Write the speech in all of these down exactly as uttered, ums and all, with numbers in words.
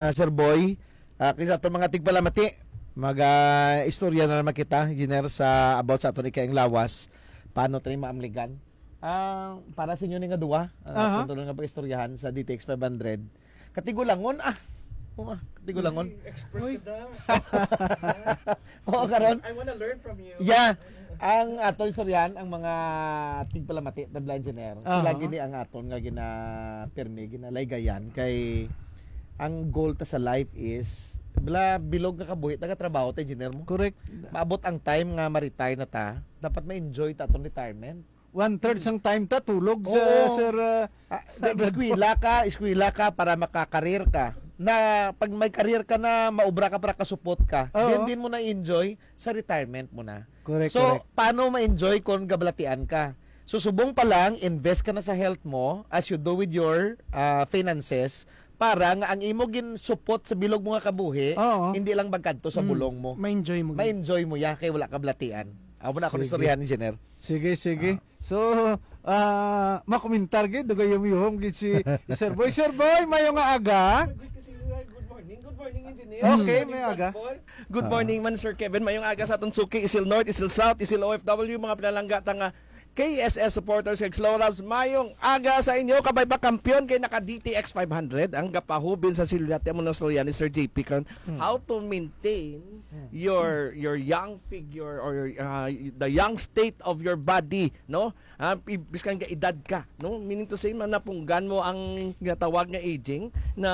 Ah, Sir Boy, ah, kay sa aton mga tigpalamati, mag, ah, istorya na naman kita, Engineer, sa about sa aton ikaing lawas. Paano tayo maamligan? Ah, para sa inyo ni nga duwa, ah, Aha. Aton tuloy nga pag-istoryahan sa D T X five hundred. Katigulangon, ah. Oo, ah, katigulangon. Expert Uy. ka da. Oo, karon. I wanna learn from you. Yeah. Ang aton istoryahan, ang mga tigpalamati, tabla engineer, sila Aha. gini ang aton nga ginapirmi, ginalaygayan kay ang goal ta sa life is, bala, bilog nga kabuhi, nagatrabaho ta, engineer mo. Correct. Maabot ang time nga ma-retire na ta, dapat ma-enjoy ta atong retirement. One third sang time ta, tulog sa, Oo. sir, ah, Ah, Brad eskwela ka, eskwela ka para makakareer ka. Na pag may career ka na, maubra ka para kasupot ka. Oo. Din, din mo na-enjoy sa retirement mo na. Correct, So, correct. paano ma-enjoy kung gabalatian ka? So, subong pa lang, invest ka na sa health mo as you do with your, ah, finances para nga ang imo ginsupot sa bilog mo nga kabuhi, Oo. hindi lang magkadto sa Mm, bulong mo. ma-enjoy mo. Ma-enjoy mo ya kay wala ka balatian. Amo na akong Sige. istoryahan, engineer. Sige, sige. Ah. So, ah, makomentar gid, dugay yum-yuhom gid si Sir Boy. Sir Boy, mayo nga aga. Good morning, good morning, engineer. Okay, Good morning, may aga. Brad Paul. Good Ah. morning man, Sir Kevin. Mayong aga sa atong suki, Isil North, Isil South, Isil O F W, mga pinalangga ta nga K S S supporters kag Slow Labs. Mayong aga sa inyo, kabay pa kampiyon kay naka D T X five hundred ang gapahubin sa selula. Ti amo na istorya ni Sir J P karon. Hmm. How to maintain Hmm. your, your young figure or your, ah, the young state of your body, no? Ah, i-, biskan ka edad ka, no? Meaning to say, man, napunggan mo ang ginatawag nga aging, na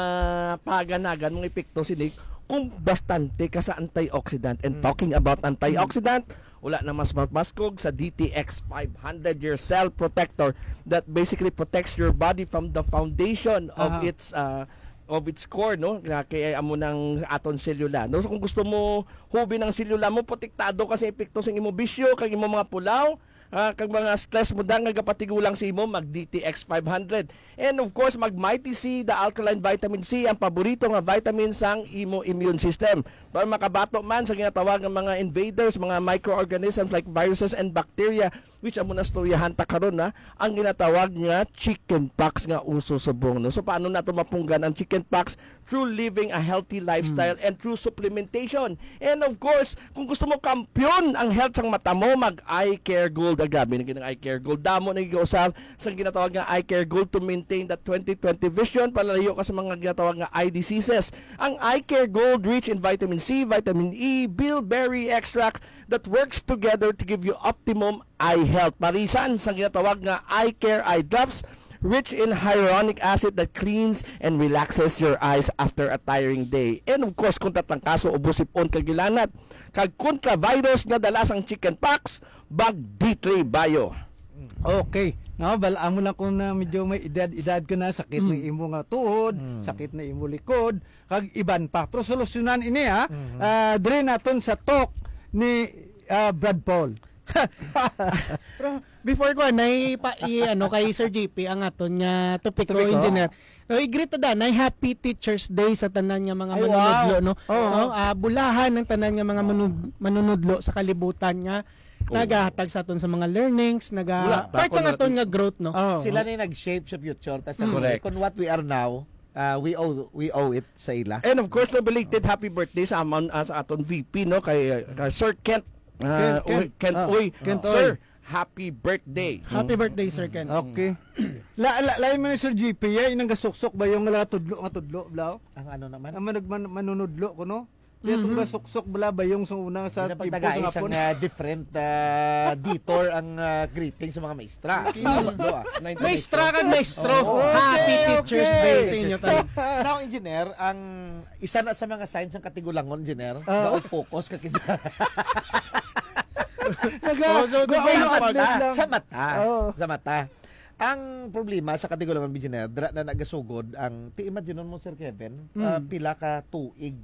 paganagan mong epekto sini kung bastante ka sa antioxidant. And Mm. talking about antioxidant, wala na mas mapaskog sa D T X five hundred, your cell protector that basically protects your body from the foundation of Aha. its, uh, of its core, no? Nga kay amo nang aton selula, no? So, kung gusto mo hubin ang selula mo, protektado ka sa epekto sa imo bisyo, kag imo mga pulaw, ah, kag mga stress mo da nga gapatigulang sa imo, mag D T X five hundred. And of course, mag Mighty C, the alkaline vitamin C, ang paborito nga vitamin sang imo immune system. Para makabato man sa ginatawag nga mga invaders, mga microorganisms like viruses and bacteria, which amo na istoryahan ta karon, na ang ginatawag nga chicken pox nga uso subong, no? So, paano nato mapunggan ang chicken pox? Through living a healthy lifestyle Mm. and through supplementation. And of course, kung gusto mo kampiyon ang health sang mata mo, mag Eye Care Gold. Ah, grabe na gid ang Eye Care Gold. Damo na giusar sa ginatawag nga Eye Care Gold to maintain that twenty twenty vision, palayo ka sa mga ginatawag nga eye diseases. Ang Eye Care Gold rich in vitamin C, vitamin E, bilberry extract that works together to give you optimum eye health. Parisan sa ginatawag nga Eye Care Eye Drops, rich in hyaluronic acid that cleans and relaxes your eyes after a tiring day. And of course, kontra trangkaso, ubo, sipon, kag gilanat, kag kontra virus nga dala sang chicken pox, mag D three Bio. Okay. No, bal-, amo lang kung na medyo may edad-edad ka na, sakit ng Mm. imo nga tuhod, Mm. sakit na imo likod, kag iban pa. Pero solusyonan ini, ha? Mhm. Ah, diri naton sa talk ni, ah, Brad Paul. Pero before ko, nay pa, i-, ano, kay Sir J P ang aton nga topiko, Topiko. Engineer. No, i-greet ta da, nay Happy Teacher's Day sa tanan nga mga Ay, manunudlo, wow. No? Oo. No? Ah, bulahan ang tanan nga mga Oo. manu-, manunudlo sa kalibutan nga Oo. nagahatag sa aton sa mga learnings, naga-, Wala, part sa bakon aton na nga growth, no? Oo. Sila ni nag-shape sa future ta sa Mm. Correct. Kung what we are now, ah, we owe, we owe it sa ila. And of course, no, belated happy birthday sa amon, ah, sa aton V P, no, kay, ah, kay Sir Kent, ah, Kent, Uy, Kent. Kent Ah, Uy. Kent Sir, Uy. Happy birthday. Happy birthday, Sir Kent. Okay. La, la, lain man ni Sir G P, eh, inang gasuksok ba yung nga tudlo nga tudlo, blaw? Ang ano naman? Ang manag-, man-, manunudlo ko, no? Kaya itong Mm-hmm. gasuksok, bala ba yung sa una sa Hindi na tipo pagtagai sa isang, hapon? ah, different, ah, detour ang, ah, greeting sa mga maestra. Mm. Tatlo, ah. Maestra kag maestro. Oo. Happy Okay, Teacher's okay. Day sa inyo tanan. Now, engineer, ang isa na sa mga signs ng katigulangon, engineer, Ah. daw focus ka kisa. Naga-, Oh, so, go di ba on yung admin pag- lang. Sa mata. Oh. Sa mata. Ang problema sa katigulangon, engineer, dira na nagasugod ang, ti imagine mo, Sir Kevin, Mm. ah, pila ka tuig.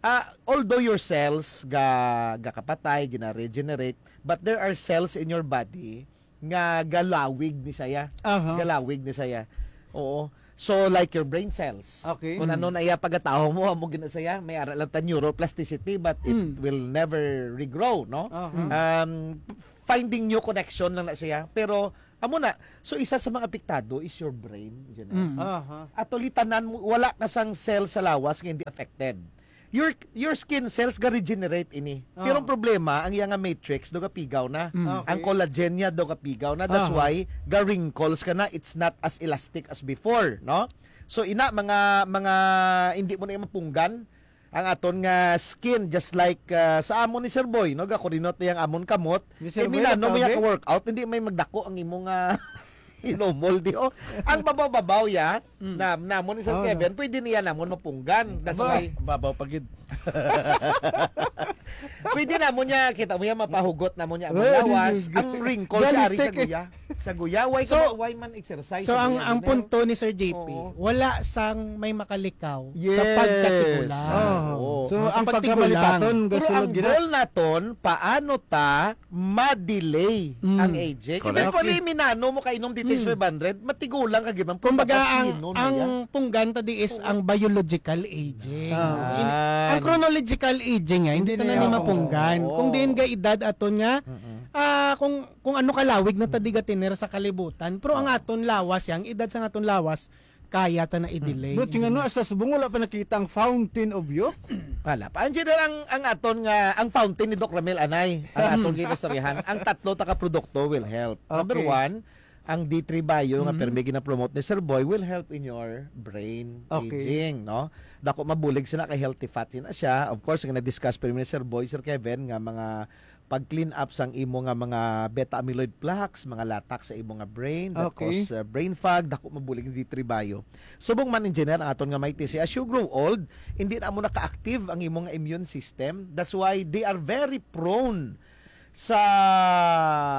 Ah, although your cells ga-, gakapatay, gina-regenerate, but there are cells in your body nga galawig ni saya. Aha. Galawig ni saya. Oo. So, like your brain cells. Okay. Kung Mm. ano na iya pagkatao mo, amo gina saya, may ara lang ta neuroplasticity, but it Mm. will never regrow, no? Aha. Mm. Um, finding new connection lang na siya. Pero Amo na. So, isa sa mga apektado is your brain, General. Mm. Aha. Actually, tanan mo, wala ka sang cell sa lawas nga hindi affected. Your, your skin cells ga-regenerate ini. Pero ang Oh. problema, ang iya nga matrix, do gapigaw na. Mm. Okay. Ang collagen niya, do gapigaw na. That's Aha. why, ga-wrinkles ka na. It's not as elastic as before, no? So, ina, mga, mga, hindi mo na yung mapunggan ang aton nga skin, just like, ah, sa amon ni Sir Boy, no? Gakurinot niya ang amon kamot. Ni Sir Eh, Boy, minano mo nagkabe? Ka-workout, hindi may magdako ang imo nga inomol, di, oh. Ang babaw-babaw, ya, Mm. na, namon ni Sir Oh, Kevin, no. Pwede niya namon mapunggan. That's Aba. why, Babaw pa gid. Pwede namon niya, kita mo yan, mapahugot namon niya ang Oh, lawas, this is good. Ang wrinkles, Galing ari sa tek, eh. guya. Sa guya, why ka So, ma-, why man exercise so sa ang, guya, ang Ginayo? punto ni Sir J P, Oo. wala sang may makalikaw sa Yes. pagkatigulang. Oh. Oo. So, Oh, sa ang pagtigulang. pagkamalipaton, Pero gasulod ang gina- goal naton, paano ta ma-delay Mm. ang aging? Correct. Eventually, Okay. minano mo kainom dito Mm. five hundred, matigulang ka, gibang Kumbaga, pagkakas ang, yun, ang yan. punggan ta di is Oo. ang biological aging. Ah. In-, ang Yan. chronological aging nga, hindi Hindi ta na na ni yan. mapunggan. Oo. Kung diin ga edad aton nga, Mm-mm. ah, kung, kung ano kalawig na ta di Mm. gatener sa kalibutan, pero ang Oo. aton lawas, ang edad sa aton lawas, kaya ta na i-delay, But nga, no, engineer. Sa subong, wala pa nakita ang fountain of youth? Wala pa. Engineer, ang, ang aton nga, ang fountain ni Doc Ramil, anay, ang Mm. aton ginistoryahan, ang tatlo ta ka produkto will help. Number Okay. one, ang D three Bio nga Mm. permi gina-promote ni Sir Boy will help in your brain Okay. aging, no? Dako mabulig sila kay healthy fat yun na siya. Of course, nga na-discuss pero ni Sir Boy, Sir Kevin, nga mga pag-clean up sang imo nga mga beta amyloid plaques, mga latak sa imo nga brain, that Okay. cause, uh, brain fog, dako mabulig ni D three Bio. Subong man, engineer, ang aton nga Mighty C, as you grow old, hindi na mo naka-active ang imo nga immune system. That's why they are very prone sa,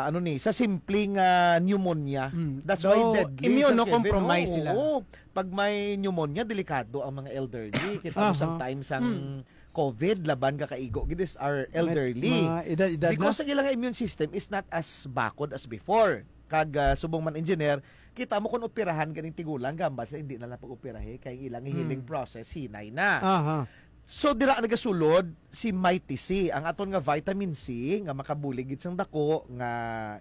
ano ni, sa simpleng, ah, pneumonia. Mm. That's why So, deadly, Sir Kevin. immunocompromised Oo, sila. oo. Pag may pneumonia, delikado ang mga elderly. Kita mo Aha. sometimes ang Mm. covid, laban ka kaigo. Gid is our May elderly. mga edad-edad na. Because ang ilang immune system is not as bakod as before. Kag, ah, subong man, engineer, kita mo kung operahan ganing tigulang, gamba sa hindi na lang pag-operahe kay ilang healing Hmm. process hinay na. Aha. So, dira nagasulod si Mighty C, ang aton nga vitamin C nga makabulig gid sang dako nga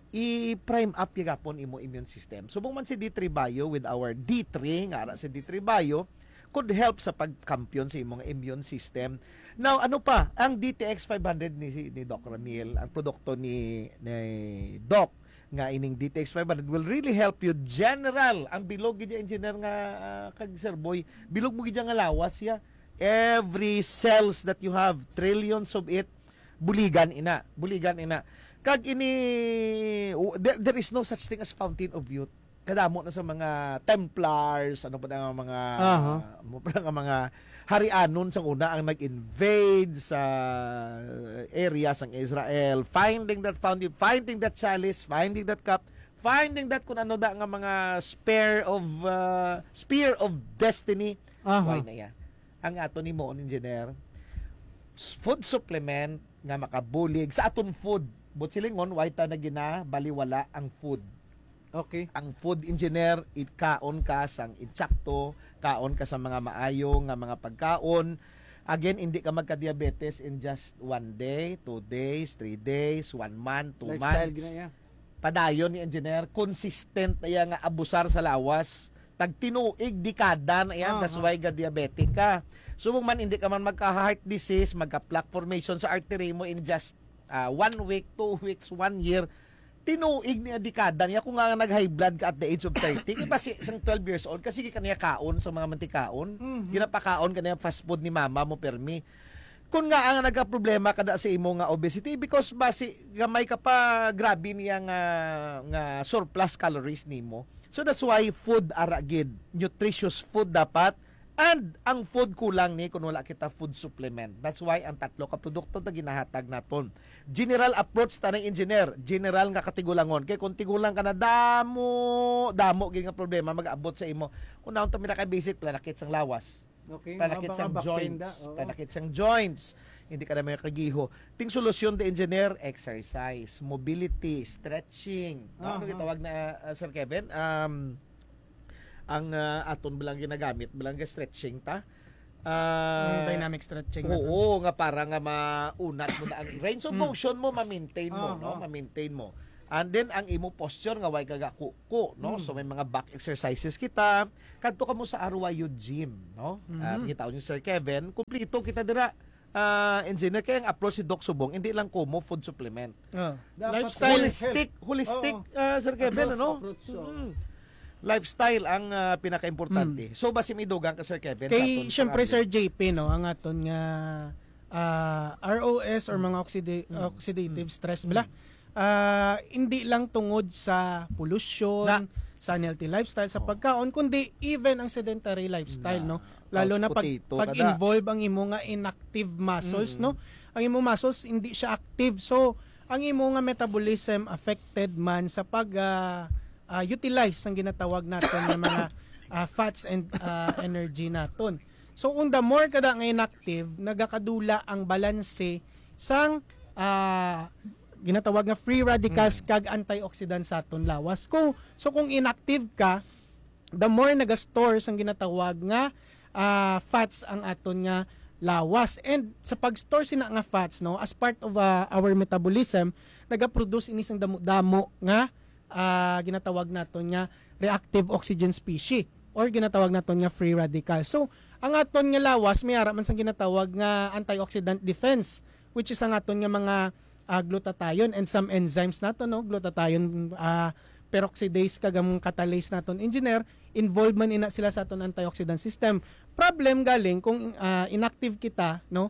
i-prime up gihapon imo immune system. Subong man si D three Bio with our D three, nga ara si D three Bio, could help sa pagkampiyon sa imong immune system. Now, ano pa? Ang D T X five hundred ni, ni Doc Ramil, ang produkto ni, ni Doc, nga ining D T X five hundred will really help you. General, ang bilog gid, engineer, nga, ah, kag Sir Boy, bilog mo gid nga lawas ya. Every cells that you have, trillions of it, buligan ina, buligan ina. Kag ini, w-, there, there is no such thing as fountain of youth. Kadamo na sa mga Templars, ano pa na nga mga, Aha. ano pa na nga mga harianon sang una ang nag-invade sa area sang Israel, finding that fountain, finding that chalice, finding that cup, finding that kun ano da nga mga spear of, uh, spear of destiny. Aha. Why na iya? Ang ato ni mo, engineer, s-, food supplement nga makabulig sa aton food. But silingon, why ta na ginabaliwala ang food? Okay. Ang food, engineer, ikaon ka sang insakto, kaon ka sa mga maayo nga mga pagkaon. Again, hindi ka magka-diabetes in just one day, two days, three days, one month, two Lifestyle months. gina iya. Padayon ni engineer, consistent na iya nga abusar sa lawas. Tag tinuig, dekada na iya, that's Aha. why ga diabetic ka. Subong man, hindi ka man magka-heart disease, magka-plaque formation sa artery mo in just, ah, one week, two weeks, one year. Tinuig niya, dekada niya. Kung nga nag-high blood ka at the age of thirty, iba si isang twelve years old, kasi ka niya kaon sa mga mantikaon. Mhm. Ginapakaon ka niya fast food ni mama mo, permi. Kung nga ang nagaproblema ka na sa imo nga obesity, because basi gamay ka pa, grabe niya nga, nga surplus calories nimo. So that's why food ara gid, nutritious food dapat, and ang food kulang ni kung wala kita food supplement. That's why ang tatlo ka produkto ta ginahatag naton. General approach ta na, engineer, general nga katigulangon. Kay kung tigulang ka na, damo, damo gid nga problema mag-abot sa imo. Kung naon ta, mira kay basic, panakit sang lawas. Okay, Panakit mga sang mga joints. bakpenda, oo. Panakit sang joints. Hindi ka na may kagiho. Ting solusyon, the engineer, exercise, mobility, stretching. No? Ano Aha. gitawag na, uh, Sir Kevin? Um, ang, uh, aton ba lang ginagamit, ba lang stretching ta? Ah, Ang dynamic stretching na to. Oo, nga para nga maunat mo na ang range of Mm. motion mo, ma-maintain mo, Aha. no? Ma-maintain mo. And then, ang imo posture nga way ka gakuko, no? So, may mga back exercises kita. Kadto ka mo sa R Y U gym, no? Ah, Mhm. kita ni Sir Kevin, kumplito kita dira. Ah, engineer, kaya ang approach si Doc Subong, hindi lang kumo food supplement. Ah. Dapat Lifestyle. Holistic, holistic, Oo. ah, Sir Kevin, Approach, ano? approach, oo. Mm. Lifestyle ang, ah, pinakaimportante. Mm. So, basi may dugang ka, Sir Kevin, sa Kay, aton syempre, pangalan. Sir J P, no, ang aton nga, ah, R O S or Mm. mga oxida-, Mm. oxidative Mm. stress, Mm. bala, ah, hindi lang tungod sa pollution, Na. sa unhealthy lifestyle, sa Oh. pagkaon, kundi even ang sedentary lifestyle, Na. no? Lalo Couch na pag, potato ka na. pag-involve ang imo nga inactive muscles, Mm. no? Ang imo muscles, hindi siya active. So, ang imo nga metabolism affected man sa pag, ah, ah, utilize ang ginatawag naton nga mga, ah, fats and, ah, energy naton. So, kung the more kada nga inactive, nagakadula ang balanse sang, ah, ginatawag nga free radicals Mm. kag antioxidants sa aton lawas. Kung, so, kung inactive ka, the more naga-store sang ginatawag nga, ah, fats ang aton nga lawas. And sa pag-store sina nga fats, no, as part of, ah, our metabolism, nagaproduce ini sang damo-damo nga, ah, ginatawag naton nga reactive oxygen species or ginatawag naton nga free radical. So, ang aton nga lawas may ara man sang ginatawag nga antioxidant defense, which is ang aton nga mga, ah, glutathione and some enzymes nato, no? Glutathione, ah, peroxidase kag ang catalase naton, engineer, involved man ina sila sa aton antioxidant system. Problem galing kung, ah, inactive kita, no?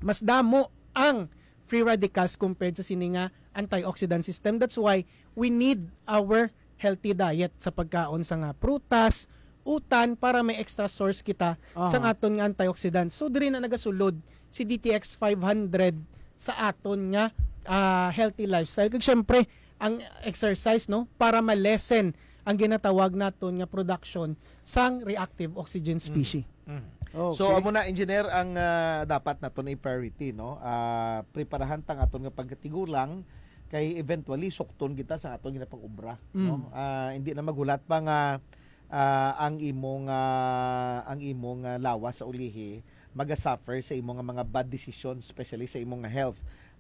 Mas damo ang free radicals compared sa sini nga antioxidant system. That's why we need our healthy diet sa pagkaon sa nga prutas, utan, para may extra source kita Aha. sa aton nga antioxidant. So, diri na nagasulod si D T X five hundred sa aton nga, ah, healthy lifestyle. Kag syempre, ang exercise, no, para ma-lessen ang ginatawag naton nga production sang reactive oxygen Mm. species. Mm. Okay. So, amo na, engineer, ang, ah, dapat naton i-priority, no? Ah, preparahan tang aton nga pagkatigulang kay eventually sukton kita sa aton ginapag-obra, no? Mm. Ah, hindi na maghulat pa nga, ah, ang imong, ah, ang imong, ah, lawas sa ulihi maga-suffer sa imong nga mga bad decisions, especially sa imong nga health.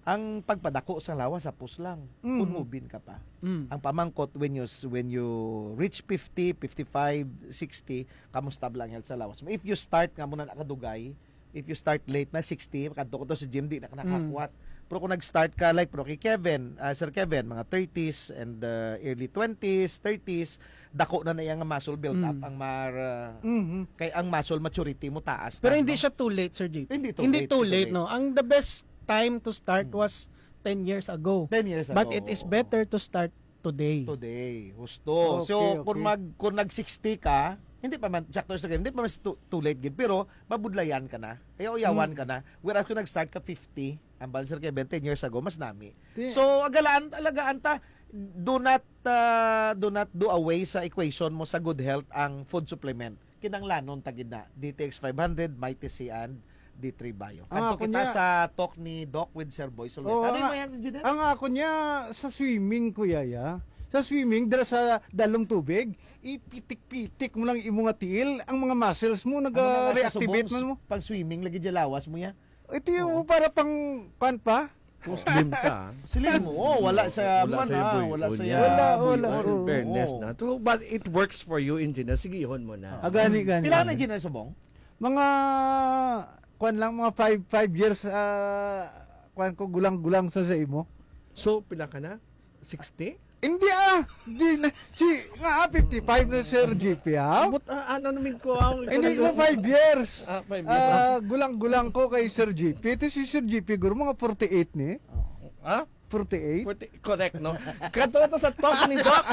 Ang pagpadako sa lawas, hapos lang. Mm. Kung hubin ka pa. Mm. Ang pamangkot, when you s-, when you reach fifty, fifty-five, sixty, kamusta ba ang health sa lawas mo? If you start nga mo na nakadugay, if you start late na sixty, kadto ka to sa gym, di na ka Mm. nakakwat. Pero kung nag-start ka, like, pero kay Kevin, ah, Sir Kevin, mga thirties and, ah, early twenties, thirties, dako na na iya nga muscle build up Mm. ang mar-, ah, Mhm. kay ang muscle maturity mo taas Pero na, hindi no? siya too late, Sir J P. Hindi too Hindi late, too hindi too late, late. no? Ang the best time to start Mm. was ten years ago. Ten years But ago, it is oo. better to start today. Today, husto. Okay, So, kung okay. mag-, kung nag-sixty ka, hindi pa man, sakto sa game, hindi pa man too, too late gid, pero mabudlayan ka na. Kaya uyawan Mm. ka na. Whereas kung nag-start ka fifty, ang bali, Sir Kevin, ten years ago, mas nami. Ti- So, agalaan, alagaan ta, do not, ah, do not do away sa equation mo sa good health ang food supplement. Kinanglanon ta gid na, D T X five hundred, Mighty C, and D three Bio. Ang Kadto ako kita niya sa talk ni Doc with Sir Boy Soleta. Oo, Ano ang mo a-, yan, engineer? ang ako niya sa swimming, Kuya, ya. Sa swimming, dala sa dalom tubig, ipitik-pitik mo lang imo nga tiil, ang mga muscles mo, Ano na nga sa naga-reactivate subong, man mo. pag swimming, lagi dyan lawas mo yan? Ito yung Oo. para pang, kwan pa? Kung slim ka. Slim mo, oh, wala sa Wala man, sa ah, buhibon wala sa niya. Wala, wala, buhibon. In oo. fairness Oo. na. So, but it works for you, engineer. Sigihon mo na. Ah, gani, gani. Pila na, engineer, subong? Mga, kwan lang, mga five, five years, ah, kwan ko, gulang-gulang sa, sa imo. So, pila ka na? Sixty? Hindi, ah. Di na. Si, nga, ah, fifty-five na, Sir G P, ah. But, ah, ano namin ko, ah, Hindi ko five years. Ah, five years. Ah, gulang-gulang ko kay Sir G P. Ito si Sir G P, guro, mga forty-eight ni. Ah? Forty-eight? Forty, correct, no? Kadto to sa talk ni Doc.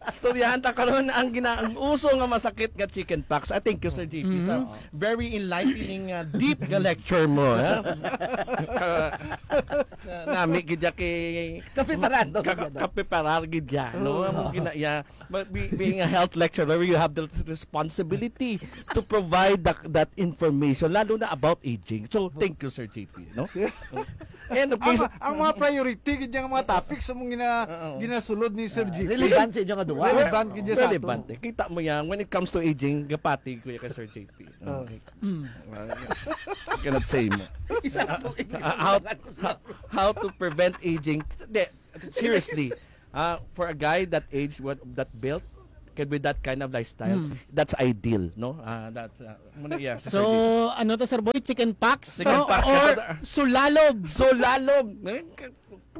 Istoryahan ta karon ang gina-, ang uso nga masakit nga chicken pox. I thank you, Sir G P, sa Mhm. very enlightening, uh, deep nga lecture mo, ha? Nami gid ya kay Kapiparado ka, Doc. Kapiparar gid ya, no? Oo. Amo gina-, ya, but be-, being a health lecturer, you have the responsibility to provide that, that information, lalo na about aging. So, thank you, Sir J P, no? And of course, Ang, ang mga priority gid yang mga topics sa mong gina-, Oo. ginasulod ni Sir Ah, G P. relevant sa inyo nga duwa. Relevant gid ya sa ato. Relevant, eh. Kita mo yan, when it comes to aging, gapati ko ya kay Sir J P. Oh. Okay. Mm. I cannot say mo. Isa na po, Uh, how, how, how to prevent aging? Hindi, Seriously, uh, for a guy that age, what, that built, can, with that kind of lifestyle, Hmm. that's ideal, no? Uh, that's, uh, muna, yeah, sa So, ideal. Ano to, Sir Boy? Chicken pox? Chicken No? pox. Or sulalob? Sulalob! Eh, ka-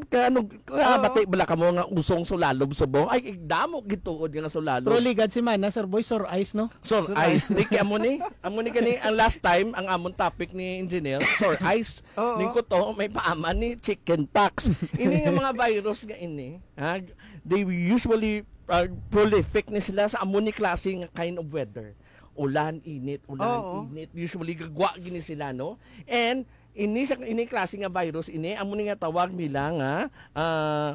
ka- ano, ah, Oo. bati bala ka mo nga usong sulalob subong? Ay, damo gituod nga sulalob. Pero ligad si Mana, Sir Boy, sore eyes, no? Sore Sore eyes. eyes. Di kaya mo ni, amo ni gani, ang last time, ang amon topic ni Engineer, sore eyes. Oo. Ning kuto, may paaman ni chicken pox. Ini nga mga virus nga ini, ha, they usually uh, prolific ni sila sa amo ni klase nga kind of weather. Ulan, init, ulan, Oo. init. Usually, gagwa gini sila, no? And ini sa ini klase nga virus ini, amo ni nga tawag nila nga ah,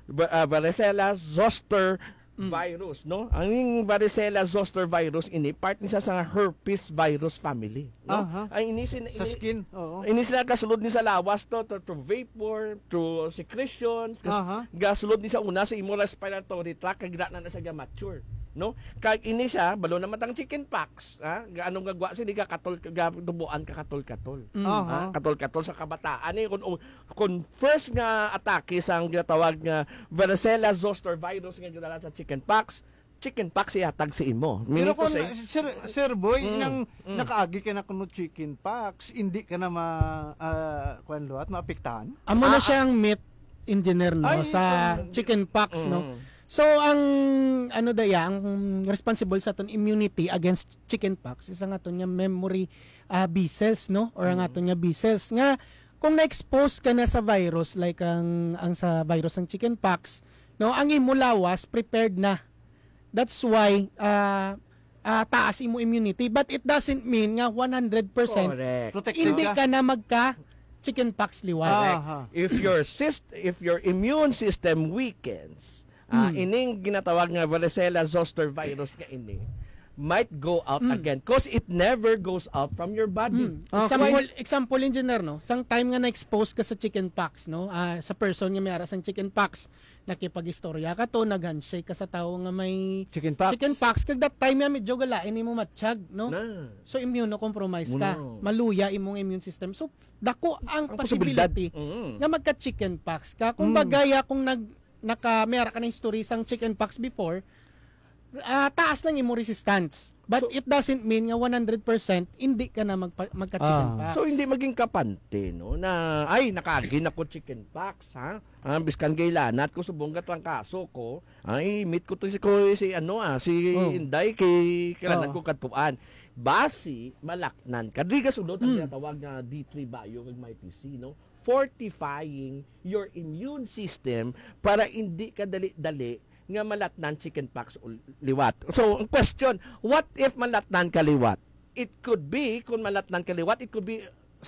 ba- ah, varicella zoster Mm. virus, no? Ang varicella zoster virus ini, part ni siya sa herpes virus family, no? Aha. Ang ini sin- Sa ini- skin, oo. Ini sila kasulod ni sa lawas to, to, to vapor, to secretion, kas- Aha. gasulod ni sa una sa imo respiratory tract, kag na na siya ga-mature, no? Kag ini siya, balo naman tang chicken pox, ha? Gaano nga gwa sila, gakatol, gatubuan ka katol-katol. Mm. Aha. Ha? Katol-katol sa kabataan. Eh, kung, kung first nga atake sa ang ginatawag nga varicella zoster virus nga ginadala sa chicken pox, chicken pox ihatag sa imo. Pero Meaning to kung, say, sir, sir Boy, Mm, nang mm. nakaagi ka na kuno chicken pox, hindi ka na ma, ah, kuwan luwat, maapektahan? Amo na Ah, siyang myth, engineer, no, Ay, sa ito. chicken pox, no? Mm. So, ang ano daya, ang responsible sa aton immunity against chicken pox is ang aton nga memory ah, B cells, no? Or ang Mm. aton nga B cells nga kung na-expose ka na sa virus, like ang ang sa virus ng chicken pox, no, ang imo lawas prepared na. That's why ah, ah, taas imo immunity, but it doesn't mean nga one hundred percent Correct. Protected hindi ka. Ka na magka chicken pox liwat. Ah. Correct. Aha. If your syst- if your immune system weakens, ah, Hmm. ining ginatawag nga varicella zoster virus nga ini might go out Hmm. again, cause it never goes out from your body. Hmm. Ah, Example, example, engineer, no? Sang time nga na-expose ka sa chicken pox, no? Ah, sa person nga may ara sang chicken pox, nakipag-istorya ka to, nag-handshake ka sa tawo nga may Chicken pox. chicken pox, kag that time nga medyo galain imo matsyag, no? Na. So immunocompromised ka. Muna. Maluya imong immune system. So dako ang, Ang posibilidad. possibility Mm. nga magka chicken pox ka. Kung Mm. bagaya kung nag naka may ara ka na history sang chicken pox before, ah, taas lang imo resistance. But So- it doesn't mean nga one hundred percent hindi ka na magpa, magka chicken Ah. pox. So hindi maging kapante, no, na ay, nakaagi na ko chicken pox, ha? Ah, biskan gay lanat ko subong gatrangkaso ko. Ay, meet ko to si ko si ano ah, si Oh. Inday kay kailangan Oh. ko katuan. Basi malaknan ka. Di gasulod ang Hmm. ginatawag nga D three Bio kag Mighty C, no? Fortifying your immune system para hindi ka dali-dali nga malatnan chicken pox ul- liwat. So, ang question, what if malatnan ka liwat? It could be, kung malatnan ka liwat, it could be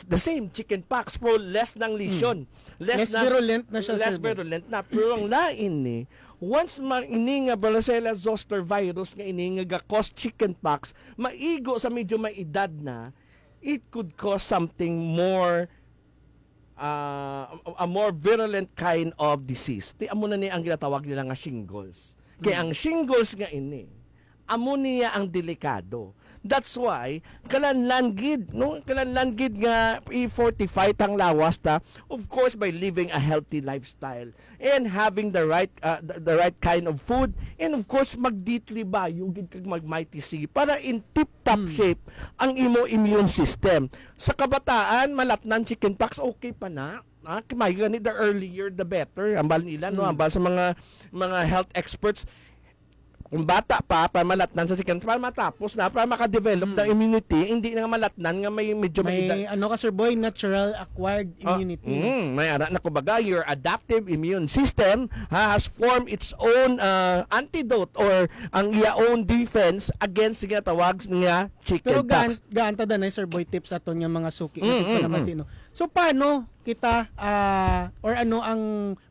the same chicken pox, pero less ng lesion. Less na- virulent na siya, Less Sir Boy. Virulent na. Pero ang lain ni, once ma, ini nga varicella zoster virus nga ini nga ga-cause chicken pox, maigo sa medyo may edad na, it could cause something more, uh, a more virulent kind of disease. Ti amo na ni ang ginatawag nila nga shingles. Kay Mm. ang shingles nga ini, amo niya ang delikado. That's why, kalanlan gid, no? Kalanlan gid nga i-fortify tang lawas ta, of course, by living a healthy lifestyle and having the right, uh, the, the right kind of food, and of course, mag-D three Bio gid kag mag-Mighty C para in tip-top Mm. shape ang imo immune system. Sa kabataan, malatnan chicken pox, okay pa na. Ah, kay may gani, the earlier the better. Ambal nila, no? Mm. Ambal sa mga mga health experts, kung bata pa, para malatnan sa chicken, para matapos na, para makadevelop Mm. ng immunity, hindi na nga malatnan nga may medyo may edad. May ano ka, Sir Boy, natural acquired Ah, immunity. Mm, may ara na, kumbaga, your adaptive immune system has formed its own uh, antidote or ang iya own defense against sa ginatawag nga chicken Pero gaan, pox. Gaan ta danay, Sir Boy, tips aton nga mga suki Mm, nga mm, nagpanabati, mm. No? So paano kita ah, or ano ang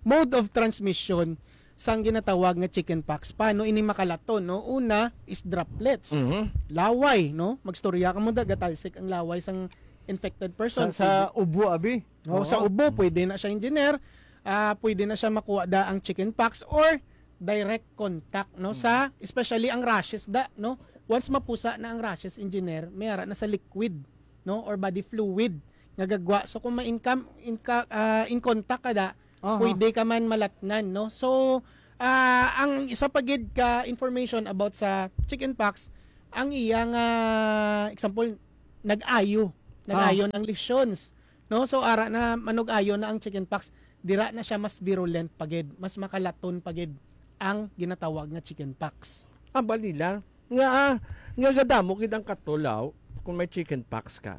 mode of transmission sang ginatawag nga chicken pox? Paano ini makalaton, no? Una is droplets. Mhm. Laway, no? Magstorya ka mo da, gatalsik ang laway sang infected person. Sa, sa ubo, abi. No, Oo. Sa ubo, pwede na siya, engineer. Ah, pwede na siya makuha da ang chicken pox or direct contact, no? Sa, especially ang rashes da, no? Once mapusa na ang rashes, engineer, may ara na sa liquid, no? Or body fluid nga gagwa. So kung ma-income, inka, ah, in contact ka da Aha. Pwede ka man malatnan, no? So, ah, ang isa pa gid ka information about sa chickenpox, ang iya nga, example, nag-ayo. Ah. Nag-ayo ng lesions, no? So, ara na manug-ayo na ang chickenpox, dira na siya mas virulent pa gid, mas makalaton pa gid ang ginatawag nga chickenpox. Ah, bali lang. Nga, ah, nga gadamo gid ang katol, aw, kung may chickenpox ka.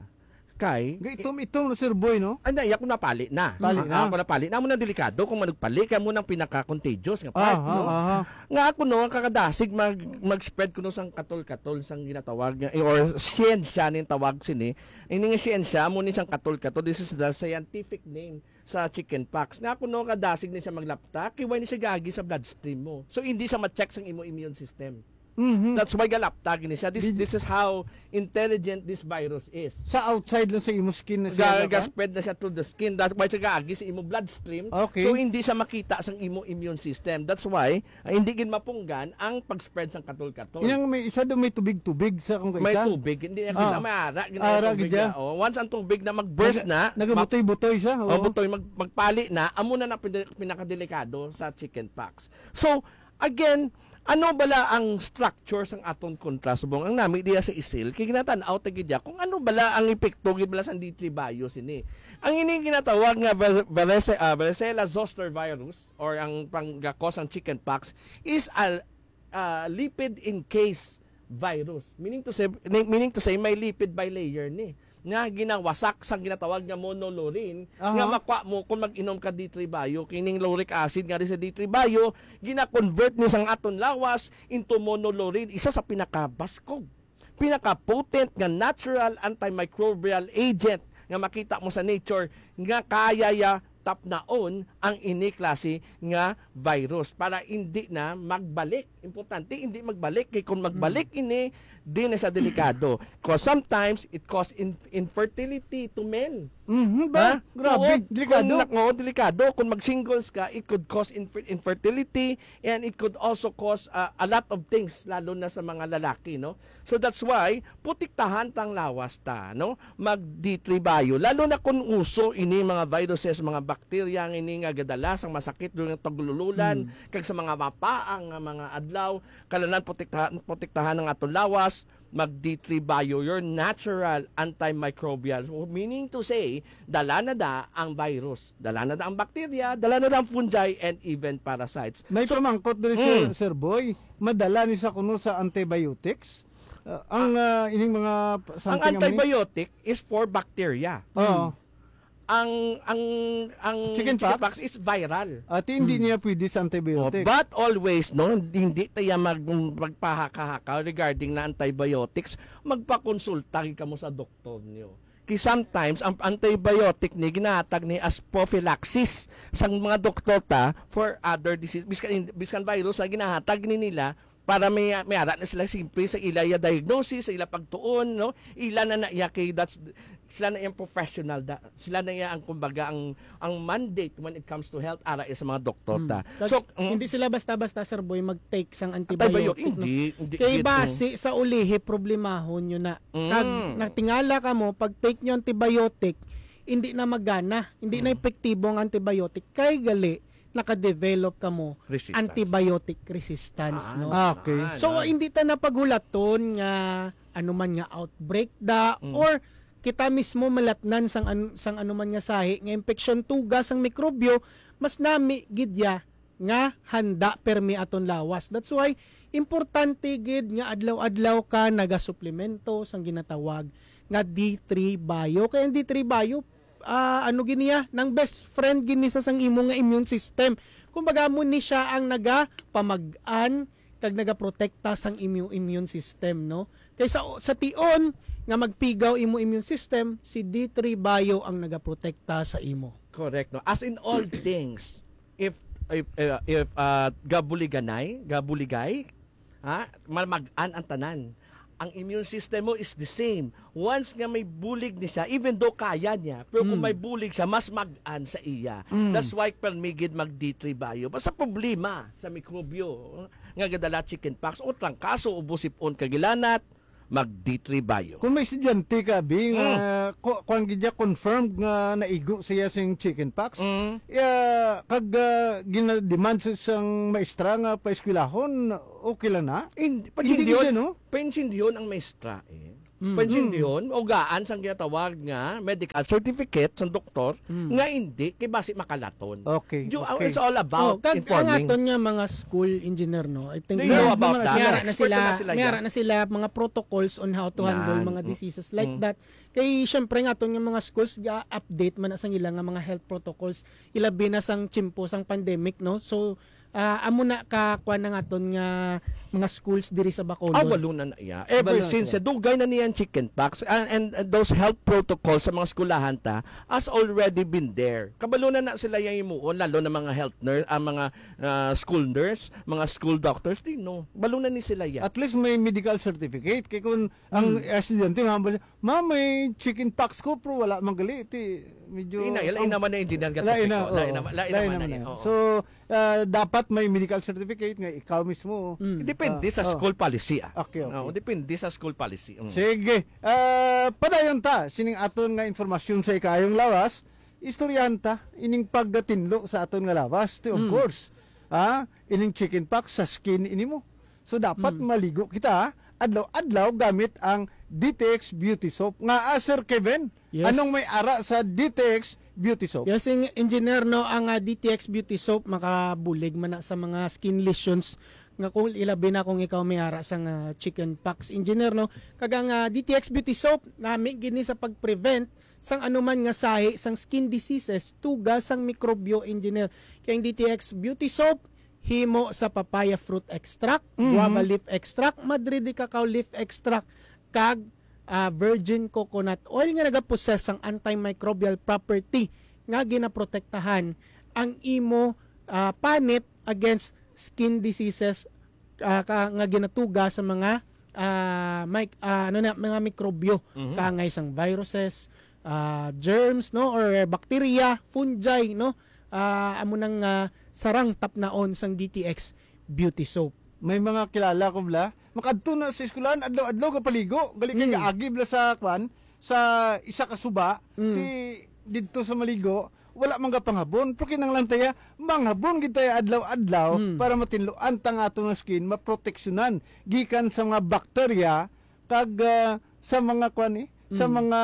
Kay Nga itom-itom na, Sir Boy, no? Ay, na, iya ko napali na. Pali Ah, na. Ako napali na. Amo nang delikado kung manugpali, kay amo nang pinaka-contagious nga part, Aha, no? aha. Nga ako, no, ang kakadasig mag, mag-spread kuno sang katol-katol, sang ginatawag nga, or siyensya ning tawag sini. Ini nga siyensya, amo ni sang katol-katol. This is the scientific name sa chickenpox. Nga ako, no, kadasig ni siya maglapta, kay wala ni siya gaagi sa bloodstream mo. So, hindi siya ma-check sang imo immune system. Mhm. That's why galapta gini siya. This, Di- this is how intelligent this virus is. Sa outside lang sa imo skin na siya, Ga, ba? Ga-spread na siya through the skin. That's why siya gaagi sa imo bloodstream. Okay. So, hindi siya makita sang imo immune system. That's why, ah, hindi gid mapunggan ang pag-spread sang katol-katol. Yang may isa daw may tubig-tubig sa kung May kaisa. Tubig. Hindi niya Ah. Kisa may ara, gid ang Ara, tubig gid siya. Na. Oh, once ang tubig na mag-burst Nag-, na, nagabutoy-butoy siya, oh, oo. Butoy, mag-, magpali na, amo na na pin-, pinakadelikado sa chickenpox. So, again, ano bala ang structure sang aton kontra subong ang nami diya sa isil? Kay ginatan-aw ta gid ya kung ano bala ang epekto gid bala sang D three bio sini. Ang ini ginatawag nga var-, varese-, ah, varicella zoster virus or ang pangga-cause ang chickenpox is a, ah, lipid encased virus. Meaning to say, meaning to say, may lipid bilayer ni nga ginawasak sang ginatawag nga monolaurin Aha. Nga makuha mo kung mag-inom ka D three bio. Kining lauric acid nga rin sa D three bio, gina-convert ni sang aton lawas into monolaurin, isa sa pinakabaskog, pinaka-potent nga natural antimicrobial agent nga makita mo sa nature nga kaya ya tapnaon ang ini klase nga virus para hindi na magbalik. Importante, hindi magbalik. Kay kung magbalik Mm. ini, di na siya delikado. 'Cause sometimes, it cause in-, infertility to men. Mhm, ba? Ha? Grabe, Oo, delikado. Kung nak-, oo, delikado. Kung mag-singles ka, it could cause infer-, infertility and it could also cause, uh, a lot of things, lalo na sa mga lalaki, no? So that's why, protektahan tang lawas ta, no? Mag D three bio. Lalo na kung uso ini mga viruses, mga bakterya nga ini nga gadala sang masakit during tagululan, Hmm. kag sa mga mapaang nga mga adlaw, kalanan protektahan, protektahan ang aton lawas, mag D three bio, your natural antimicrobial. Meaning to say, dala na da ang virus, dala na da ang bakterya, dala na da ang fungi, and even parasites. May So, pamangkot diri, Sir, mm. Sir Boy. Madala ni sa kuno sa antibiotics? Uh, ang, uh, ining mga p-, Ang something nga may antibiotic is for bacteria. Oo. Ang, ang, ang Chicken pox? Chickenpox is viral. Ati, hindi Hmm. niya pwede sa antibiotic. Oh, but always, no, hindi tayo mag-, magpahaka-haka regarding na antibiotics, magpakonsulta gid kamo sa doktor niyo. Kay sometimes, ang antibiotic ni ginahatag ni as prophylaxis sang mga doktor ta for other disease. Biskan, biskan virus na ginahatag ni nila para may, may ara na sila simple sa ila ya diagnosis, sa ila pagtuon, no? Ila na na iya kay that's, sila na iyang professional, da, sila na iya ang, kumbaga, ang, ang mandate when it comes to health, ara iya sa mga doktor ta. Hmm. Kag So, mm. hindi sila basta-basta, Sir Boy, mag-take sang Antibiotic, antibiotic, no? hindi, hindi Kay gid, base mm. sa ulihi, problemahon yun na. Kag Mm. natingala ka mo, pag take nyo antibiotic, hindi na magana, hindi na Mm. epektibo ang antibiotic. Kay gali, nakadevelop ka mo Resistance. antibiotic resistance, Ah, no? Ah, okay. ah, So, na. hindi ta na paghulaton nga ano man nga outbreak da, Mm. or kita mismo malatnan sang an-, sang ano man nga sahi nga impeksyon, tuga sang mikrobyo, mas nami gid ya nga handa permi aton lawas. That's why importante gid nga adlaw-adlaw ka nagasuplemento sang ginatawag nga D three Bio. Kay ang D three Bio, ah, ano gid niya, nang best friend gid ni sa sang imo nga immune system. Kumbaga, mo ni siya ang nagapamag-an kag nagaprotekta sang imo immune system, no? Kay sa, sa tion nga magpigaw imo immune system, si D three Bio ang nagaprotekta sa imo. Correct, no? As in all things, if, if, uh, if, uh, gabuliganay, gabuligay, ha? Mamag-an ang tanan. Ang immune system mo is the same. Once nga may bulig ni siya, even though kaya niya, pero kung Mm. may bulig siya, mas mag-an sa iya. Mm. That's why permi gid mag D three Bio. Basta problema sa mikrobyo, nga gadala chickenpox, o trangkaso, o busipon, kagilanat, mag D three bio. Kung may estudyante ka, Bi, nga Mm. ku-, kuwan gid niya, confirmed nga naigo siya sing chicken pox, Mm. ya, kag, ah, ginademand sa isang maestra nga paeskwelahon, okay lang na? In-, Hindi pansindihon, gid, no? Pansindihon ang maestra, eh. Mm. Pansindihon, Mm. ugaan sang ginatawag nga medical certificate sang doktor Mm. nga hindi, kay basi makalaton. Okay, Ju-, okay. It's all about Oh, kag ang informing. aton nga mga school engineer, no? I think They May know about mga that. may ara na Expert sila, na sila may dyan. ara na sila mga protocols on how to handle Nan. mga Mm. diseases like Mm. that. Kay syempre nga aton nga mga schools ga-update man na sang ila nga mga health protocols, ilabi na sang tiyempo sang pandemic, no? So, ah, amo na ka kuan ang aton nga mga schools diri sa Bacolod. Ah, balo na na iya. Ever Balo na since, siya. eh, dugay na niyan chicken pox, and, and, and those health protocols sa mga eskwelahan ta has already been there. Kabalo na na sila yang himuon, lalo na mga health nurse, ang mga, ah, school nurse, mga school doctors, di, no? Balo na ni sila yan. At least may medical certificate. Kay kung ang Hmm. estudyante, ma'am, "Ma, may chicken pox ko, pero wala man gali." Ti, medyo, Ina, lain ang naman na engineer nga Lain na, topiko. Lain oo. naman, lain Lain naman na naman eh. na. Oo. So, ah, dapat may medical certificate nga ikaw mismo. Mm. Depende Ah, sa oh. school policy, ah. Okay, okay. Oo, depende sa school policy. Mm. Sige. Ah, padayon ta sining aton nga informasyon sa ikaayong lawas. Istoryahan ta ining paggatinlo sa aton nga lawas, ti, of Mm. course. Ah, ining chicken pox sa skin ini mo. So, dapat Mm. maligo kita adlaw-adlaw gamit ang D T X Beauty Soap. Nga, ah, Sir Kevin, Yes. anong may ara sa D T X Beauty Soap? Yes, ing-, engineer, no, ang, ah, D T X Beauty Soap makabulig man na sa mga skin lesions nga kung ilabi na kung ikaw may ara sang, ah, chicken pox, engineer, no. Kag ang, ah, D T X Beauty Soap nami gini sa pag-prevent sang anuman nga sahi sang skin diseases, tuga sang mikrobyo, engineer. Kay ang D T X Beauty Soap himo sa papaya fruit extract, Mhm. guava leaf extract, madre de cacao leaf extract, kag, ah, virgin coconut oil nga nagapossess sang antimicrobial property nga ginaprotektahan ang imo, ah, panit against skin diseases, ah, ka, nga ginatuga sa mga, ah, mic-, ah, ano na, mga mikrobyo, Mhm. kaangay sang viruses, ah, germs, no, or bacteria, fungi, no, ah, amo nang, ah, sarang tapnaon sang D T X Beauty Soap. May mga kilala ko, bala, makadto na sa eskwelahan, adlaw-adlaw gapaligo. Gali kay Mm. gaagi bala sa, kwan, sa isa ka suba, Mm. ti didto sa maligo, wala man gapanghabon. Pero kinahanglan ta ya, manghabon gid ta ya adlaw-adlaw Mm. para matinluan ta nga aton nga skin, maproteksyonan gikan sa mga bakterya kag, ah, sa mga kwan, eh, sa Mm. mga,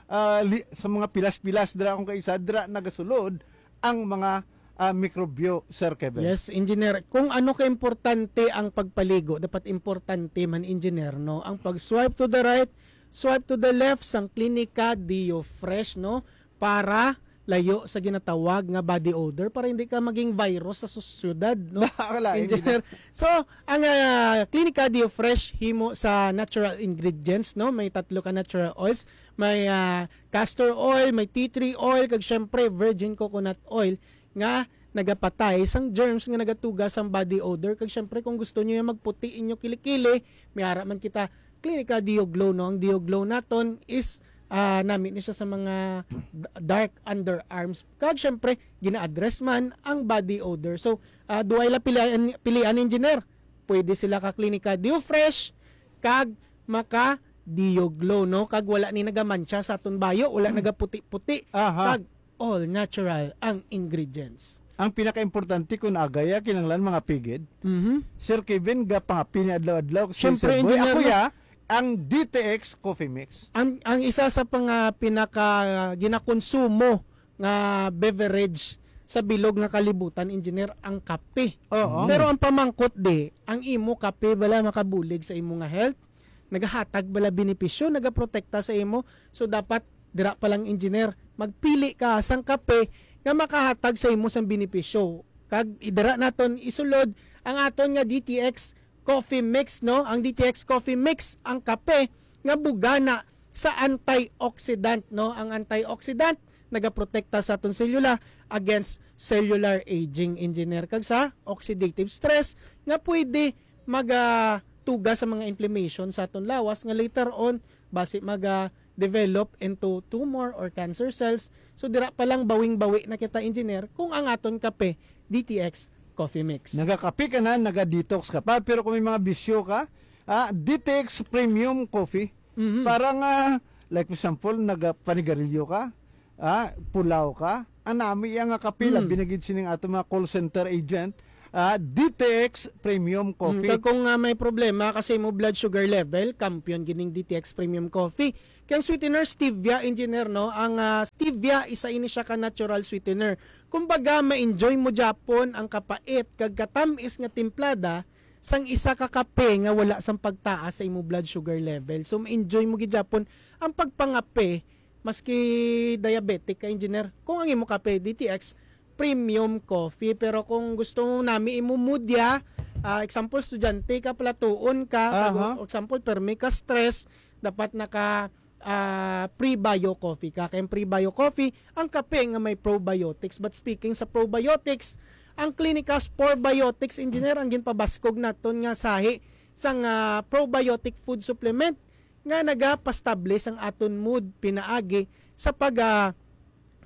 ah, li-, sa mga pilas-pilas dira akong kaisa, dira nagasulod ang mga, ah, mikrobyo, Sir Kevin. Yes, engineer. Kung ano ka importante ang pagpaligo, dapat importante man, engineer, no? Ang pag-swipe to the right, swipe to the left sang Clinica Deo Fresh, no? Para layo sa ginatawag nga body odor, para hindi ka maging virus sa sosyedad, no? Wala, Engineer. So, ang, ah, Clinica Deo Fresh himo sa natural ingredients, no? May tatlo ka natural oils, may, ah, castor oil, may tea tree oil, kag syempre virgin coconut oil nga nagapatay sang germs nga nagatuga sang body odor. Kag syempre, kung gusto niyo yung magputi inyo kilikili, may ara man kita Clinica Deo Glow, no? Ang Deo Glow naton is, ah, nami ni siya sa mga d-, dark underarms. Kag syempre, gina-address man ang body odor. So, ah, duha la pilian, pilian, engineer. Pwede sila ka Clinica Deo Fresh kag maka Deo Glow, no? Kag wala ni nagamantsa sa aton bayo, wala nagaputi-puti. Aha. Kag all natural ang ingredients. Ang pinakaimportante kung agaya, kinahanglan mga pigid. Mhm. Sir Kevin, gapangapi ni adlaw-adlaw. Kasi Siyempre, Sir Boy, engineer, ako no? ya, ang D T X Coffee Mix. Ang, ang isa sa pang, ah, pinaka, ah, ginakonsumo nga beverage sa bilog nga kalibutan, engineer, ang kape. Oo. Pero ang pamangkot di, ang imo kape bala makabulig sa imo nga health? Nagahatag bala benepisyo, nagaprotekta sa imo? So, dapat dira pa lang, engineer, magpili ka sang kape nga makahatag sa imo sang benepisyo. Kag idira naton isulod ang aton nga D T X Coffee Mix, no? Ang D T X Coffee Mix, ang kape nga bugana sa antioxidant, no? Ang antioxidant nagaprotekta sa aton selula against cellular aging, engineer, kag sa oxidative stress nga pwede magatuga sa mga inflammation sa aton lawas nga later on basi maga-develop into tumor or cancer cells. So, dira pa lang bawing-bawi na kita, engineer, kung ang aton kape D T X Coffee Mix. Nagakape ka na, naga-detox ka pa, pero kung may mga bisyo ka, Ah, D T X Premium Coffee. Mhm. Para nga, like, for example, nagapanigarilyo ka, ah, pulaw ka, anami iya nga kape, Mm. labi na gid sining ato mga call center agent, ah, D T X Premium Mm, Coffee. Kag kung, ah, may problema kasi mo blood sugar level, kampiyon gining D T X Premium Coffee. Kay ang sweetener, stevia, engineer, no? Ang, ah, stevia, isa ini siya ka natural sweetener. Kumbaga, ma-enjoy mo gyapon ang kapait kag katamis nga timplada sang isa ka kape nga wala sang pagtaas sa imo blood sugar level. So, ma-enjoy mo gid gyapon ang pagpangape maski diabetic ka, engineer. Kung ang imo kape, D T X, premium coffee. Pero kung gusto mo nami imo mood ya, ah, example, estudyante ka, palatuon ka, kag, Aha. example, permi ka stress, dapat naka, ah, prebio coffee ka. Kay ang prebio coffee, ang kape nga may probiotics. But speaking sa probiotics, ang Clinicas Probiotics, engineer, ang ginpabaskog naton nga sahi sang, ah, probiotic food supplement nga nagapastable sang aton mood pinaagi sa pag, ah,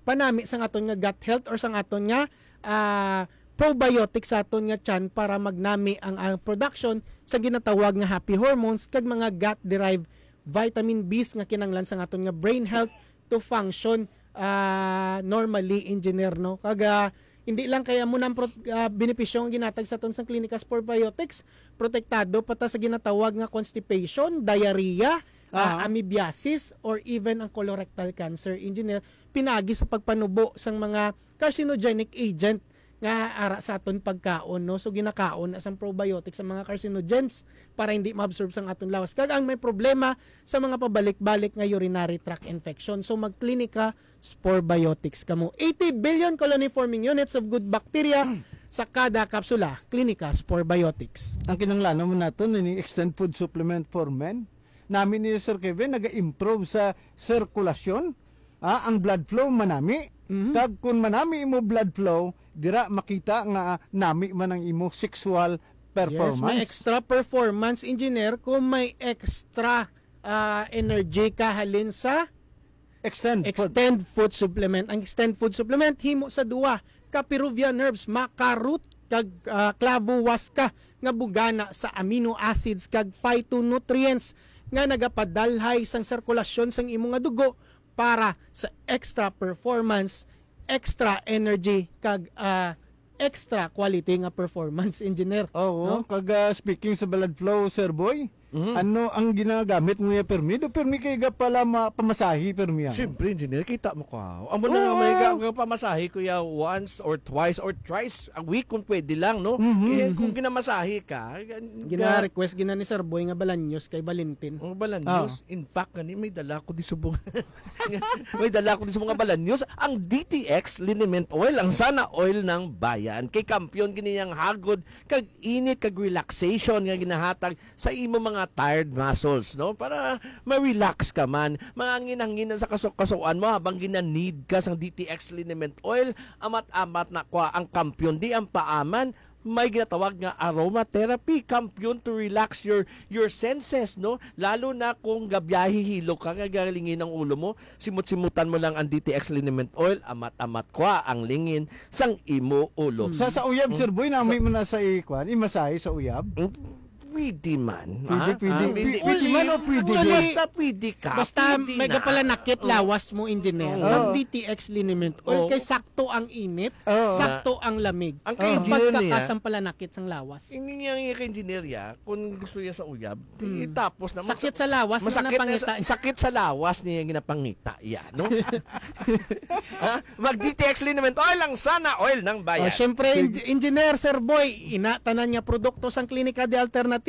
panami sang aton nga gut health or sang aton nga, ah, probiotic sa aton nga tiyan para magnami ang, ang production sa ginatawag nga happy hormones kag mga gut-derived vitamin Bs nga kinahanglan sang aton nga brain health to function, ah, normally, engineer, no? Kag, ah, hindi lang kaya mo nang pro-, ah, benepisyo ang ginatag sa aton sang Clinicas Probiotics, protektado pa ta sa ginatawag nga constipation, diarrhea, ah, Aha. amoebiasis, or even ang colorectal cancer, engineer, pinagi sa pagpanubo sang mga carcinogenic agent nga ara sa aton pagkaon, no? So, ginakaon na sang probiotics sa mga carcinogens para hindi maabsorb sang aton lawas. Kag ang may problema sa mga pabalik-balik nga urinary tract infection. So, mag-Clinica Sporebiotics kamo. Eighty billion colony-forming units of good bacteria sa kada kapsula. Clinica Sporebiotics. Ang kinahanglan mo naton ni extend food supplement for men. Nami niyo, Sir Kevin, naga-improve sa sirkulasyon. Ah, ang blood flow manami. Mhm. Kag kun manami imo blood flow, dira makita nga nami man ang imo sexual performance. Yes, may extra performance, engineer, kung may extra, ah, energy ka halin sa Extend food. Extend food supplement. Ang extend food supplement himo sa duwa ka peruvian herbs, maca root kag, ah, clavo huasca nga bugana sa amino acids kag phytonutrients nga nagapadalhay sang sirkulasyon sang imo nga dugo para sa extra performance, extra energy, kag, ah, extra quality nga performance, engineer. Oo, no? Kag, ah, speaking sa blood flow, Sir Boy, Mhm. ano ang ginagamit mo niya, permi? Do permi kay ga pala ma-, pamasahe, permi, ah? Siyempre, engineer, kita mo ka. Amo na Oo. may ga-, ga pamasahe ko ya once or twice or thrice a week kung pwede lang, no? Mhm. Eh, kung Mhm. ginamasahe ka, gan-, ga- Gina-request gina ni Sir Boy nga balanyos kay Valentin. Oh, balanyos. Ah. In fact, gani, may dala ko di subong. May dala ko di sa mga balanyos. Ang D T X liniment oil, ang sana oil ng bayan. Kay kampiyon gini ang hagod, kag init, kag relaxation nga ginahatag sa imo mga tired muscles, no? Para ma-relax ka man. Mga angin-angin sa kaso-kasuan mo habang gina-need ka sang D T X liniment oil, amat-amat na kwa ang kampiyon. Di ang paaman, may ginatawag nga aromatherapy, kampiyon to relax your, your senses, no? Lalo na kung gabiyahe hilo ka, nga galingin ang ulo mo, simot-simutan mo lang ang D T X liniment oil, amat-amat kwa ang lingin sang imo ulo. Sa, sa uyab, Mm. Sir Boy, nami Sa mo na sa ikuan, imasahe sa uyab? Mm, pwede man, Pwede, ha? pwede. Ah, Pwede, pwede. pwede man o pwede Well, di? Basta pwede ka, Basta pwede may na. gapalanakit Oo. lawas mo, engineer. Oo. Ang D T X liniment oil, Oo. kay sakto ang init, Oo. sakto ang lamig. Ang Oo. ka-engineer niya, Pagkakasampalanakit sang lawas. Ini nga, nga ka-engineer ya, kung gusto niya sa uyab, Mm. eh, tapos na Sakit sa lawas na masakit na napangita sa, niya. sakit sa lawas niya ginapangita, ya, no? Ha? Mag-D T X liniment oil, ang sana oil ng bayan. Oh, syempre, Sig- Eng-, Engineer Sir Boy, ina tanan nga produkto sang Klinika de Alternativo,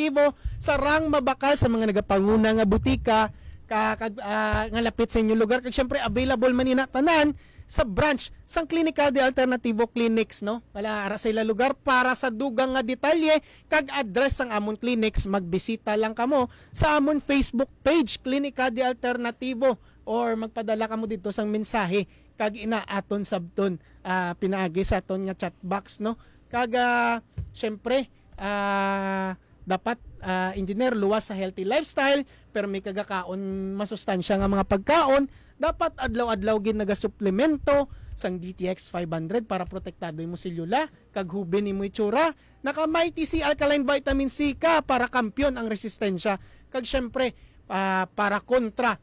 sarang mabakal sa mga nagapanguna nga butika, ka, kag, ah, nga lapit sa inyong lugar. Kag syempre, available man ina tanan sa branch sang Klinika de Alternativo Clinics, no? Wala ara sa ila lugar. Para sa dugang nga detalye kag address sang amon clinics, magbisita lang kamo sa amon Facebook page, Klinika de Alternativo, or magpadala kamo didto sang mensahe kag ina aton sabton, ah, pinaagi sa aton nga chat box, no? Kag, ah, syempre, ah, dapat, ah, engineer, luwas sa healthy lifestyle, pero may kagakaon masustansya nga mga pagkaon, Dapat adlaw-adlaw gid nagasuplemento sang D T X five hundred para protektado imo selula kag hubin imo itsura. Naka Mighty C Alkaline Vitamin C ka para kampiyon ang resistensya. Kag syempre, ah, para kontra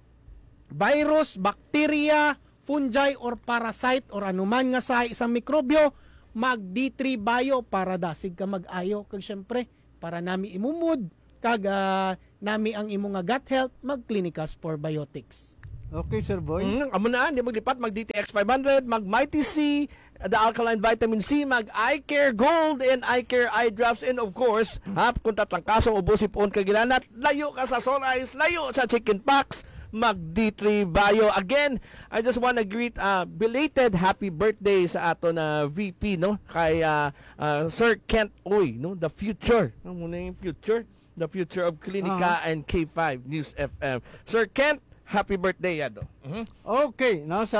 virus, bacteria, fungi, or parasite, or anuman nga sahi sang mikrobyo, mag D three Bio para dasig ka mag-ayo. Kag syempre, para nami imo mood, kag, ah, nami ang imo nga gut health, mag Clinicas Probiotics. Okay, Sir Boy. Mm, amo na, di maglipat, mag D T X five hundred, mag Mighty C, the alkaline vitamin C, mag Eye Care Gold and Eye Care Eye Drops, and of course, ha, kung tatlangkaso o busi puon ka gilanat, layo ka sa sore eyes, layo sa chicken pox, mag D three Bio. Again, I just wanna greet, uh, belated happy birthday sa ato na V P, no? Kay, uh, uh, Sir Kent Uy, no? The future. Ano mo na yung future? The future of Klinika Aha. and K five News F M. Sir Kent, happy birthday, Yado. Mhm. Okay, no, sa,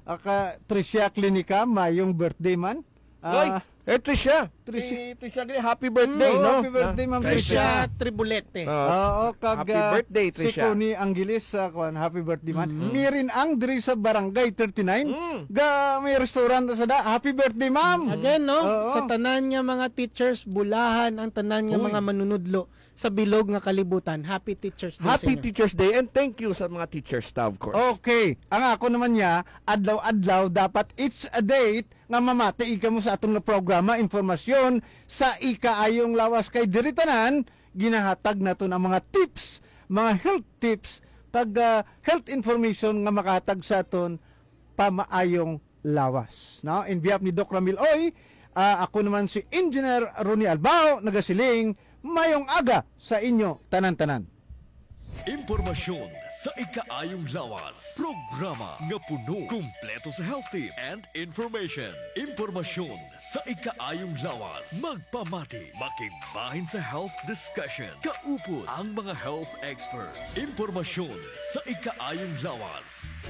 ah, ka, Tricia Klinika, mayong birthday man. Oy, Ah, eh, Tricia. Tricia. Si Tricia Gre, happy birthday, Mm, no? happy birthday, Ah, Ma'am Tricia. Tricia. Tricia Tribolete. Ah, Oo, kag, happy ah, birthday, si Tricia. Connie Angeles, ah, kuwan, happy birthday man. Mm. Mirin Ang diri sa Barangay thirty-nine, Mm. ga, may restaurant sa da. Happy birthday, ma'am. Again, no? Oo. Sa tanan nga mga teachers, bulahan ang tanan nga Uy. mga manunudlo sa bilog nga kalibutan. Happy Teachers Day sa Happy inyo. Teachers Day, and thank you sa mga teachers ta, of course. Okay. Ang ako naman niya, adlaw-adlaw, dapat it's a date nga mamati kamo sa atong nga programa, impormasyon sa ikaayong lawas. Kay diri tanan, ginahatag naton ang mga tips, mga health tips, kag, ah, health information nga makahatag sa aton pamaayong lawas. No? In behalf ni Doc Ramil Oy, ah, ako naman si Engineer Ronnie Albao, nagasiling, mayong aga sa inyo tanan-tanan. Impormasyon sa ikaayong lawas. Programa nga puno, kumpleto sa health tips and information. Impormasyon sa ikaayong lawas. Magpamati, makigbahin sa health discussion. Kaupod ang mga health experts. Impormasyon sa ikaayong lawas.